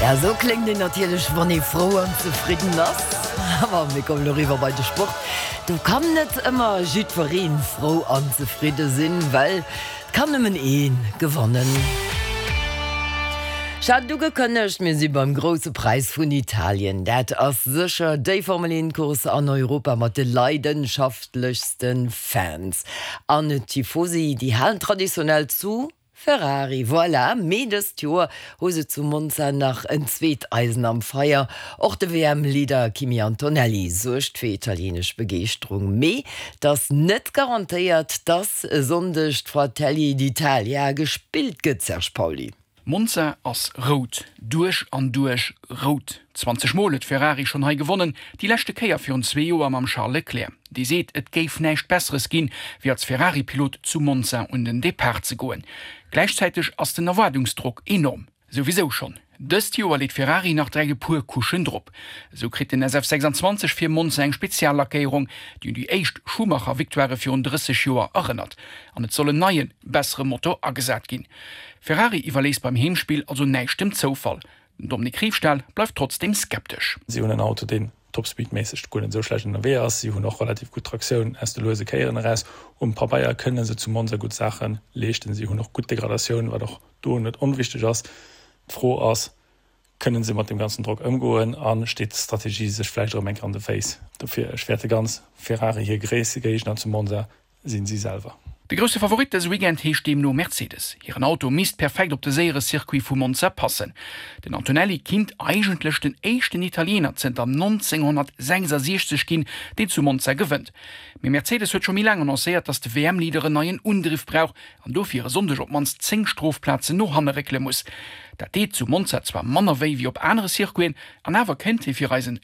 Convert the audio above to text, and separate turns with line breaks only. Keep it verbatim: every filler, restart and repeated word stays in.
Ja, sou kléngt een natierlech, wann ee frou an zefridden ass. Awer mir kommen eriwwer bei de Sport. Do kann net ëmmer jiddweree frou an zefridde sinn, well et kann nëmmen ee gewannen. Ech hat et ugekënnegt, mir si beim Grousse Präis vun Italien. Dat ass sécher déi Formel eent Course an Europa mat de leidenschaftlechste Fans. An d'Tifosi, déi halen traditionell zu Ferrari, voilà. Mee dëst Joer hu se zu Monza nach en zweet Eisen am Feier. Och de W M-Leader Kimi Antonelli suergt fir italienesch Begeeschterung. Mee et ass net garantéiert, dass e Sonndeg d'Fratelli d'Italia gespillt gëtt, Serge Pauly.
Monza ass rout, duerch an duerch rout. zwanzeg Mol huet Ferrari schonn hei gewonnen, déi leschte Kéier virun zwee Joer mam Charles Leclerc. Dee seet, et géif näischt Besseres ginn, wéi als Ferrari-Pilot zu Monza un den Depart ze goen. Gläichzäiteg ass den Erwaardungsdrock enorm. Souwisou schonn. Dëst Joer leet Ferrari nach direkt e puer Couchen drop. Esou kritt den S F sechsanzwanzeg fir Monza eng Speziallackéierung, déi un déi éischt Schumacher-Victoire virun drësseg Joer erënnert. An et soll en neien, bessere Motor agesat ginn. Ferrari iwwerléisst beim Heemspill also näischt dem Zoufall. Den Dominique Riefstahl bleift trotzdeem skeptesch.
Si hunn en Auto, deen topspeedméisseg guer net esou schlecht ënnerwee ass. Si hunn och relativ gutt Traktioun aus de luese Kéieren eraus. Um Pabeier kënne se zu Monza gutt Saache leeschten. Si hunn och gutt Degradatioun, wat och do net onwichteg ass. D'Fro ass, kënne se mat deem ganzen Drock ëmgoen a steet d'Strategie sech vläicht erëm eng Kéier an de Féiss? Dofir, ech fäerte ganz, Ferrari hir gréisste Géigner zu Monza sinn si selwer.
De grousse Favorit dëse Weekend heescht deemno Mercedes. Hiren Auto misst perfekt op de séiere Circuit vu Monza passen. Den Antonelli kinnt eigentlech den éischten Italiener zënter nonzénghonnertsechsasiechzeg ginn, deen zu Monza gewënnt. Mee Mercedes huet scho méi laang annoncéiert, datt de W M-Leader en neien Undriff brauch an dofir e Sonndeg op d'mannst zéng Strofplazen no hanne réckele muss. Dat deet zu Monza zwar manner wéi wéi op anere Circuiten, an awer kéint hie fir eisen